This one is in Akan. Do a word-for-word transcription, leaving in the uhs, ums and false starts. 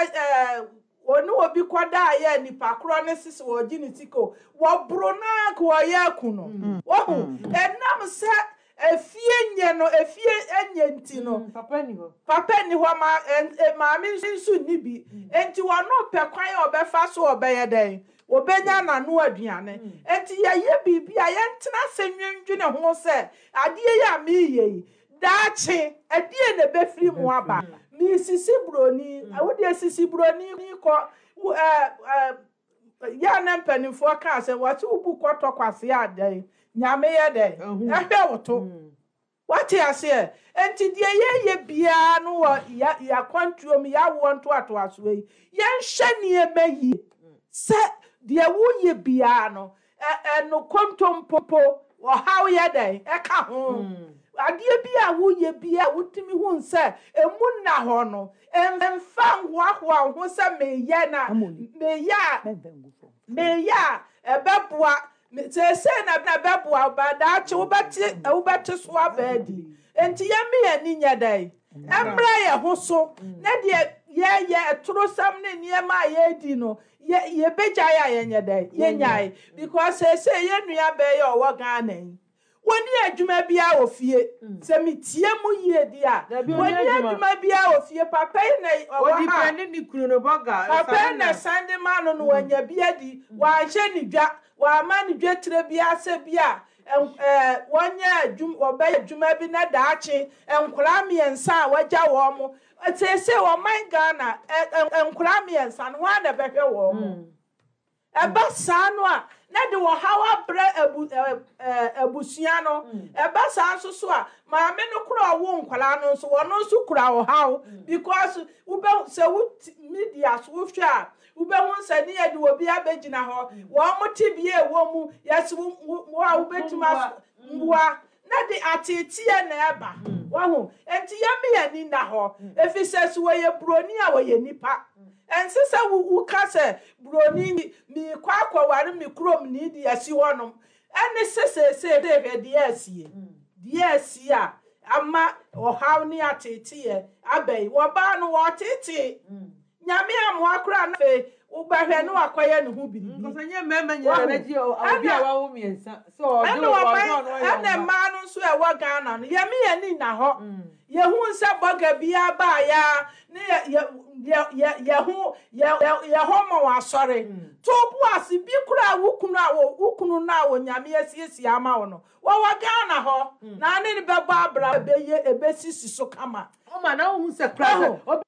ɛɛ wɔne obi kɔda a yɛ nipa korɔ ne sisi wɔgye ne sika o, wɔboro naa ka wɔyɛ aku no. Wɔhu ɛnam sɛ efie nyɛ no, efie nyɛ nti no. Mm, papa ni hɔ. Papa ni hɔ ma ɛ maame nso ni bi, nti wɔn pɛ kwan a ɔbɛfa so ɔbɛyɛ dɛn, wɔbɛnya n'ano aduane. Nti yɛyɛ biribi a, yɛntena ase nwendwene ho sɛ adeɛ yi a meyɛ yi, daakye ɛdeɛ na ɛbɛfiri mu aba. Meesisi buroni, wodeɛ sisi buroni kɔ wo ɛɛ ɛɛ yɛ na mpanimfoɔ kaa sɛ wɔte wo bu kɔtɔ kwase a, dɛn Nyame yɛ dɛn ɛhwɛ wo to. Wate aseɛ? Nti deɛ yɛyɛ biara no wɔ yɛ yɛakwantuo mu, yɛawoɔ ntoatoasoɔ yi, yɛnhyɛ nneɛma yie sɛ deɛ woyɛ biara no ɛ ɛno kontompo ɔhaw yɛ dɛn ɛka ho. Adeɛ bi a woyɛ bi a wotumi hu sɛ emu nna hɔ no, mfa nhoahoa wo ho sɛ meyɛ na meyɛ a meyɛ a ɛbɛboa seesei na ɛbɛboa ba daakye wobɛte wobɛte so aba adi. Nti yɛmme yɛn ani nyɛ dɛn ɛmmerɛ yɛ ho so na deɛ yɛyɛ ɛtorosɛm ne nneɛma a yɛredi no, yɛ yɛbɛgyae a yɛnyɛ dɛn yɛnyae, because seesei yɛn nua bɛyɛ ɔwɔ Ghana yi, wɔni adwuma biara wɔ fie. Sɛ metie mu yie di a, Dabi, ɔnni wɔni adwuma. Adwuma biara wɔ fie. Papa yi na ɔwɔ Ɔdi ha. pɛ ne ne kunu no bɔga. Papa yi na san de ma no no wanya bi adi. Wanhyɛ ne dwa, wama ne dwa tire bi asɛ bi a ɛɛ wɔnyɛ adwuma, wɔbɛyɛ adwuma bi na daakye nkwaraa mmiɛnsa a wɔagya wɔn mo. Seesei ɔman Ghana ɛ ɛ nkwaraa mmiɛnsa no, wɔn a na ɛbɛhwɛ wɔn mo. Ɛba saa no a, na de ɔhaw abrɛ abu ɛ ɛ abusua no. Ɛba saa nso so a, maame no kora ɔwo nkwaraa no nso, wɔn nso kura ɔhaw, because wobɛ sɛ wo media so wohwɛ a, wobɛhu sɛ ne yɛde obi abɛgyina hɔ, wɔn mo te bea ɛwɔ mu yɛsi wo wo a wobɛtumi aso mboa na de ateeteɛ na ɛba. Wɔho nti yɛn yɛn ani na hɔ efi sɛ so wɔyɛ buroni a, wɔyɛ nipa. Ɛnse sɛ wo woka sɛ buroni miikɔ akɔware me kurom ni de asi hɔnom ɛne sɛ seesei hwɛ deɛ asie, deɛ asie a ama ɔhaw ne ateeteɛ aba yi. Wɔbaa no wɔtetee Nyame amoa koraa na afei wobɛhwɛ ne wakɔyɛ ne ho biribi. Nkɔsɛ nyɛ mmarima nyinaa na bɛgye obi a wawo mmiɛnsa sɛ ɔgye ɛna ɔgye ɔman ɔno ɔyɛ ɛna ɔma. Mmaa no nso a ɛwɔ Ghana no, yɛme yɛn ani na hɔ yɛhu sɛ bɔga biara baeɛ ne yɛ yɛ yɛ yɛ yɛ ho yɛ yɛ yɛ hɔ ma wɔ asɔre to bo ase bi koraa. Wo kunu a wo wo kunu no a wɔ Nyame asiesie ama wo no, wɔwɔ Ghana hɔ na ne ne bɛbɔ abra, ɛbɛyɛ ɛbɛsisi so kama. Ɔma na wohu sɛ kora sɛ obi